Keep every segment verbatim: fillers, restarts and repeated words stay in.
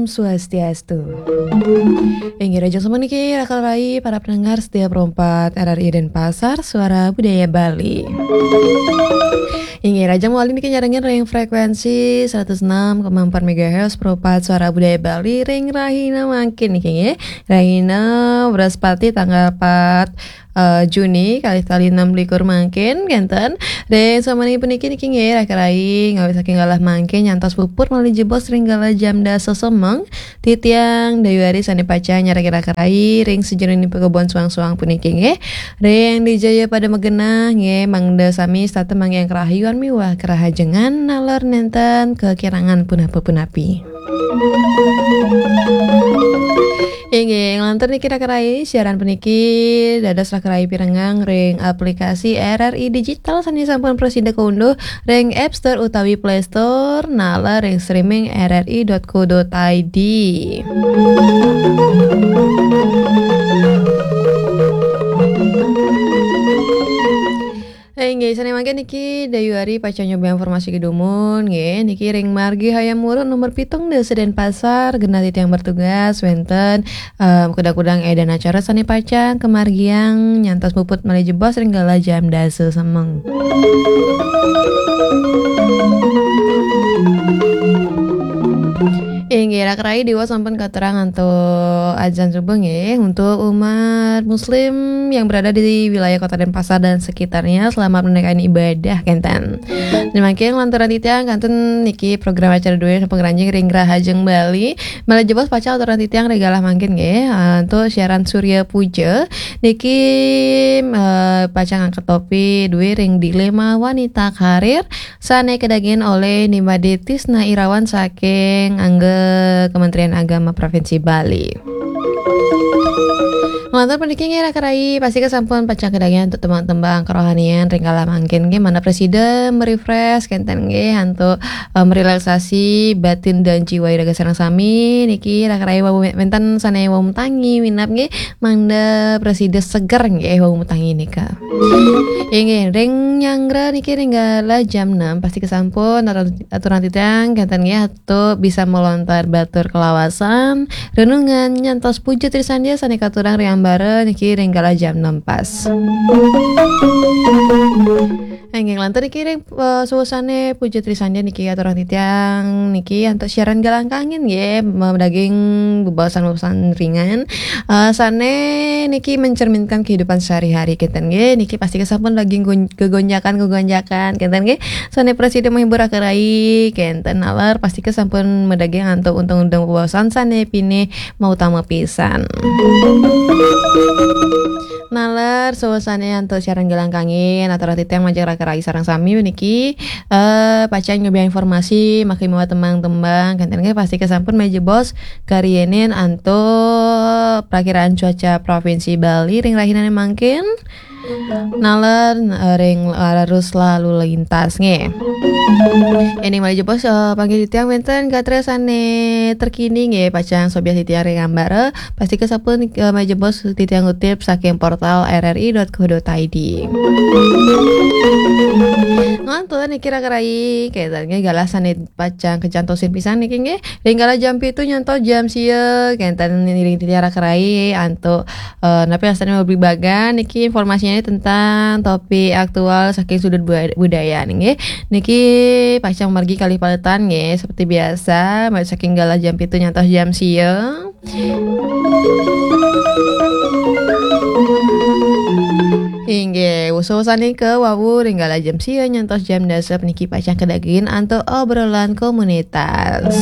Swastiastu. Inggih, rahajeng sapuniki, raka rai para pendengar setia perempat R R I Denpasar, Suara Budaya Bali. Inggih, rahajeng malih niki nyarengin ring frekuensi seratus enam koma empat megahertz perempat Suara Budaya Bali ring rahina mangkin niki, nggih. Rahina Wraspati tanggal empat eh, Juni, kalih tali enam likur mangkin, kenten. Ring sami puniki niki, nggih, raka rai, ngawit saking galah mangkin nyantos puput malih jebos ring galah jam dasa semeng, titiang Dayu Ari sane pacang nyarengin raka rai ring sajeroning pakebon suang-suang puniki, nggih. Ring dija pada magenah, nggih, mangda sami setata manggihin karahayuan miwah karahajengan, naler nenten kakirangan punapa-punapi. Inggih, nglantur niki raka rai, siaran puniki dados raka rai pirengang ring aplikasi R R I Digital sane sampun prasida kaunduh ring App Store utawi Play Store, naler ring streaming R R I dot co dot I D. Eh, nggih, sane mangkin niki Dayu Ari pacang nyobiahang informasi kedumun, nggih, niki ring Margi Hayam Wuruk nomor pitung dasa Denpasar, genah titiang bertugas, wenten, em, kudang-kudang edan acara sane pacang kamargiang nyantos puput malih jebos ring galah jam dasa semeng. Inggih, raka rai, diwau sampun katurang antuk adzan subuh, nggih, untuk umat muslim yang berada di wilayah Kota Denpasar dan sekitarnya, selamat menunaikan ibadah, kenten. Mangkin lanturang titiang kantun niki program acara duwe sampun ngranjing ring Rahajeng Bali. Malih jebos pacang aturang titiang ring galah mangkin, nggih, eh, untuk siaran Surya Puja niki, eh, pacang angkat topik duwe ring dilema wanita karir sane kadagingin olih Ni Made Tisna Irawan saking angga Kementerian Agama Provinsi Bali. Nglantur puniki, nggih, raka rai, pastika sampun pacang kadagingin antuk tembang-tembang kerohanian ring galah mangkin, nggih, manah prasida merefresh kenten, nggih, antuk, eh, merelaksasi batin dan jiwa iraga sareng sami. Niki raka rai wau wenten sane wau matangi minab, nggih, mangda prasida seger, nggih, wau matangi nika. Inggih, ring nyanggra niki ring galah jam enam, pastika sampun atur-, aturang titiang kenten, nggih, antuk bisa melontar batur kalawasan, renungan nyantos puja trisandya sane katurang ring ambara niki ring galah jam enam pas. Inggih, nglantur niki ring, eh, suasana puja trisandya niki aturang titiang niki antuk siaran galah kangin, nggih, madaging bebaosan-bebaosan ringan, eh, sane niki mencerminkan kehidupan sehari-hari kenten, nggih. Niki pastika sampun daging gon-, gegonjakan-gegonjakan kenten, nggih. Sane prasida menghibur raka rai kenten, naler pastika sampun madaging antuk undang-undang bebaosan sane pinih mautama pisan. Naler suasana antuk siaran galah kangin, aturang titiang majeng raka rai sareng sami puniki, eh, pacang nyobiahang informasi, mangkin miwah tembang-tembang, kenten, nggih, pastika sampun malih jebos kariinin antuk prakiraan cuaca Provinsi Bali ring rahinane mangkin. Naler, eh, ring arus lalu lintas, nggih. Ene malih jebos, eh, panggih titiang wenten gatra sane terkini, nggih, pacang sobiah titiang ring ambara, pastika sampun, eh, malih jebos titiang ngutip saking portal R R I dot co dot I D. Ngantur niki raka rai, kenten, nggih, galah sane pacang kacantosin pisan niki, nggih. Ring galah jam pitu nyantos jam sia, kenten, ring titiang raka rai antuk, eh, napi wastane mabligbagan niki informasinya tentang topik aktual saking sudut bu-, budaya, nggih. Niki pacang margi kalih paletan, nggih, seperti biasa, mulai saking galah jam pitu nyantos jam sia. Inggih, usaha-usahane ke wau ring galah jam sia nyantos jam dasa puniki pacang kadagingin antuk obrolan komunitas.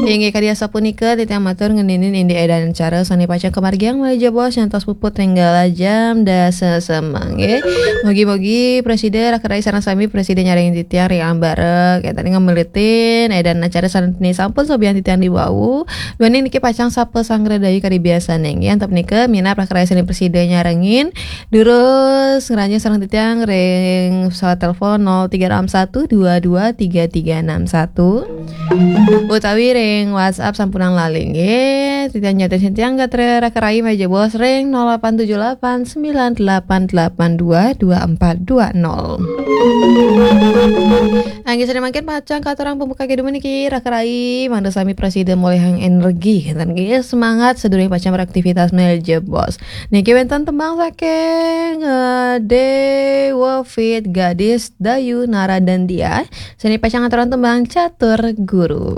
Inggih, kadi asapunika titiang matur ngeninin indik edan acara sane pacang kamargiang malih jebos nyantos puput ring galah jam dasa semeng, nggih. Mugi-mugi prasida raka rai sareng sami prasida nyarengin titiang ring ambara, kenten, ngamelitin edan acara sane sampun sobiahang titiang diwau. Duaning niki pacang sapa sanggra dayu kadi biasane, nggih. Antuk punika minab raka rai sane prasida nyarengin, durus ngranjing Titiang ring pesawat telepon nol tiga enam satu dua dua tiga tiga enam satu. Utawi ring WhatsApp sampunang lali nggih. Titiang nyatin sintitiang gatra raka rayi malih jebos ring nol delapan tujuh delapan sembilan delapan delapan dua dua empat dua nol. Inggih sane mangkin pacang katurang pembuka kedumun niki raka rayi mangda sami prasida molihang energi kenten nggih semangat sadurunge pacang beraktivitas malih jebos. Niki wenten tembang saking eh, Dewa Fit Gadis Dayu Naradandia. Sane pacang ngaturang tembang Catur Guru.